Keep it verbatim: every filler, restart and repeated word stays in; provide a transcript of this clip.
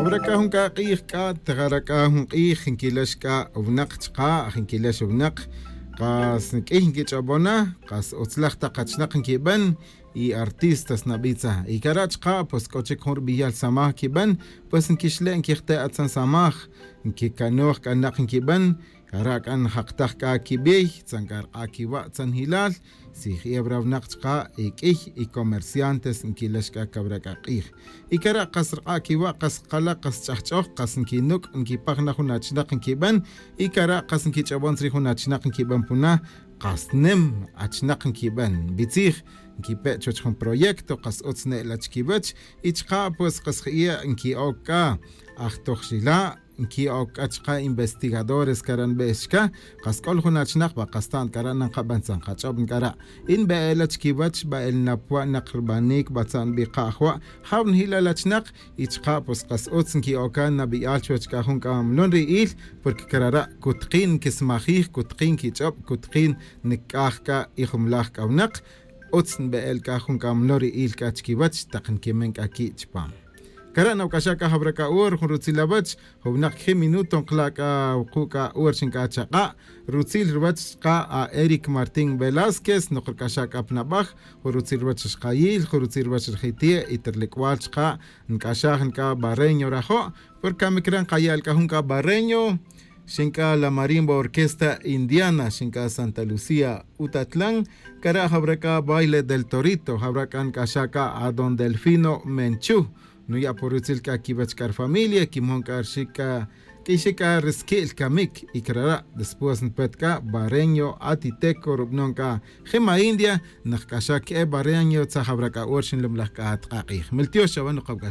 Rac'a jun c'a k'ij c'a tejara c'a jun k'ij nquilex c'a winak chka' nquilex winak. Kas q'uiy nquich'obona kas utzlaj tak achnak nquiben. Y artistas nabitza y cara' chka' pues c'o chic jun rbiyal samaj nquiben. Pues nquixle' nquijte' atzan samaj nquicanoj c'a nak nquiben. Cara' c'a njak tak c'a quibey tzan c'a rk'a' quiwa' tzan jilal. Si jebra winak chka' y q'uiy y comerciantes nquilex c'a cawra c'a k'ij. Y cara' kas rk'a' quiwa' kas kala' kas ch'ajch'oj kas nquinuc' nquipaj na jun achnak nquiben. Y cara' kas nquich'obon tzri jun achnak nquiben puna. Kas nim achnak nquiben bitzij nquipe' chuwech jun proyecto kas utz ne'la chiquiwech. Y chka' pues kas je'e' nqui'oc c'a ajtojxila' nqui'oc c'a chka' investigadores cara' nbe'ej chca. Kas c'ol jun achnak ba kas ta'n cara' nankaben tzan kach'ob nc'ara'. Y nbe'ela chiquiwech ba el napwa' nak rbanic ba tza'n nbi ka' ajwa' jaw njilal achnak. Y chka' pues kas utz nqui'oca nabi'al chuwech c'a jun c'a mlon ri'il. Porque carara' cutkin nquismajij cutkin nquich'ob cutkin nc'aj c'a y jumlaj c'a winak. Utz nbe'el c'a jun c'a mlon ri'il c'a chiquiwech tak nquimen c'a qui' chupam. Cara' nawac'axa' c'a jawra c'a hora jun rutzil awech. Jun winak quiji' minuto nkala' c'a wuku' c'a hora xinc'a chak'a'. Rutzil ruwech chka' a eric martín velásquez nok rc'axa' c'a pa nabaj. Jun rutzil ruwech rxkayil jun rutzil ruwech rjiti' y ta rlic'bal chka' nc'axaj nc'a barreño rajo'. Por camic re' nkaya' c'a jun c'a barreño xinc'a la marimba orquesta indiana xinc'a santa lucía utatlan. Cara' jawra c'a baile del torito jawra c'a nc'axa' c'a adon delfino menchu. Nuya' por rutzil c'a quiwech c'a rfamilia quimon c'a rxic c'a q'uixic c'a risqui'l camic y carara' después npet c'a barreño atiteco rubanon c'a jima india. Najc'axa' que'e barreño tzaj jawra c'a hora xinlumlaj c'a atk'a k'ij miltiox chawe nokawc'axa'.